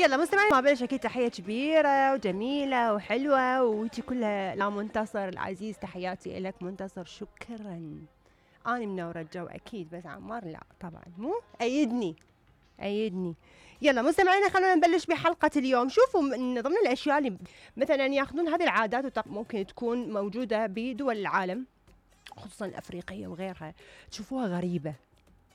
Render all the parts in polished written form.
يلا مستمعين، ما بلش اكيد تحيه كبيره وجميله وحلوه وهيجي كلها لا منتصر العزيز، تحياتي لك منتصر، شكرا. انا منوره الجو اكيد، بس عمار لا طبعا، مو ايدني. يلا مستمعينا، خلونا نبلش بحلقه اليوم. شوفوا من ضمن الاشياء اللي مثلا ياخذون هذه العادات ممكن تكون موجوده بدول العالم خصوصا الافريقيه وغيرها، تشوفوها غريبه،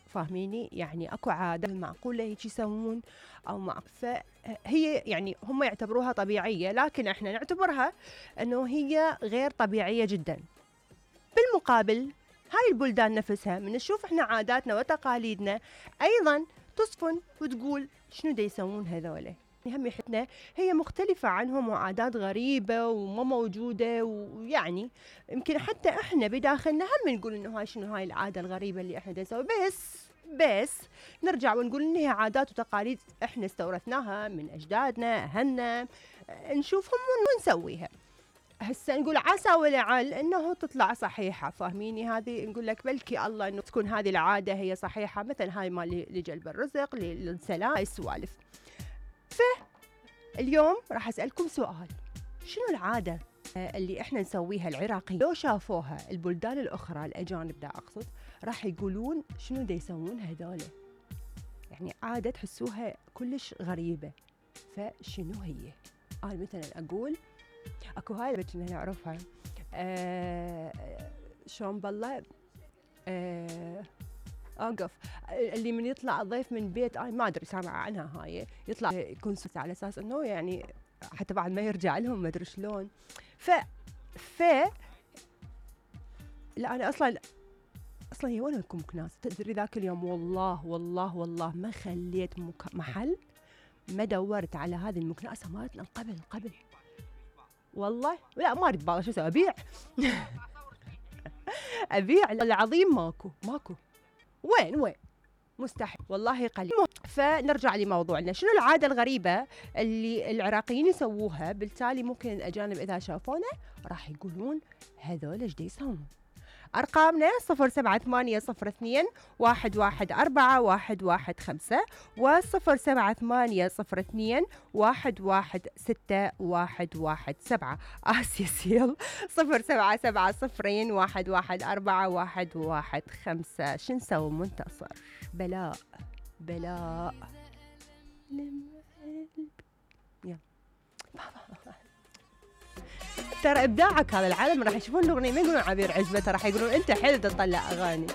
فاهميني؟ يعني اكو عاده معقوله هيك يسوون او فهي يعني هم يعتبروها طبيعيه، لكن احنا نعتبرها انه هي غير طبيعيه جدا. بالمقابل هاي البلدان نفسها من نشوف احنا عاداتنا وتقاليدنا ايضا تصفن وتقول شنو دا يسوون هذول، هم يحتنا هي مختلفة عنهم وعادات غريبة وما موجودة، ويعني يمكن حتى احنا بداخلنا هم نقول انه هاي شنو هاي العادة الغريبة اللي احنا دا نسوي، بس نرجع ونقول انها عادات وتقاليد احنا استورثناها من اجدادنا اهلنا، نشوفهم ونسويها. هسه نقول عسى ولعل انه تطلع صحيحه، فاهميني؟ هذه نقول لك بلكي الله انه تكون هذه العاده هي صحيحه، مثلا هاي مال لجلب الرزق للسلام، هاي السوالف. فاليوم راح اسالكم سؤال، شنو العاده اللي احنا نسويها العراقيين لو شافوها البلدان الاخرى الاجانب دا اقصد، راح يقولون شنو دا يسوون هذول؟ يعني عاده تحسوها كلش غريبه، فشنو هي؟ انا مثلا اقول اكو هاي البنت اللي نعرفها شلون بالله اوقف اللي من يطلع ضيف من بيت ما ادري سامعه عنها، هاي يطلع يكون سوس على اساس انه يعني حتى بعد ما يرجع لهم ما ادري شلون. لا انا اصلا هي وين لكم كناس؟ تدري ذاك اليوم والله ما خليت محل ما دورت على هذه المكناسه مالتنا قبل والله. لا ما اريد بالله شو اسوي، ابيع العظيم، ماكو وين مستحيل والله قليل. فنرجع لموضوعنا، شنو العاده الغريبه اللي العراقيين يسووها بالتالي ممكن الاجانب اذا شافونا راح يقولون هذول ايش يسوون؟ أرقامنا 07802 114 115 و07802 116 آسيا سيل 0770 114 115. شو نسوي منتصر؟ بلاء يلا ترى ابداعك هذا العالم راح يشوفون الاغنيه ما يقولون عبير عجبته، راح يقولون انت حلو تطلع اغاني.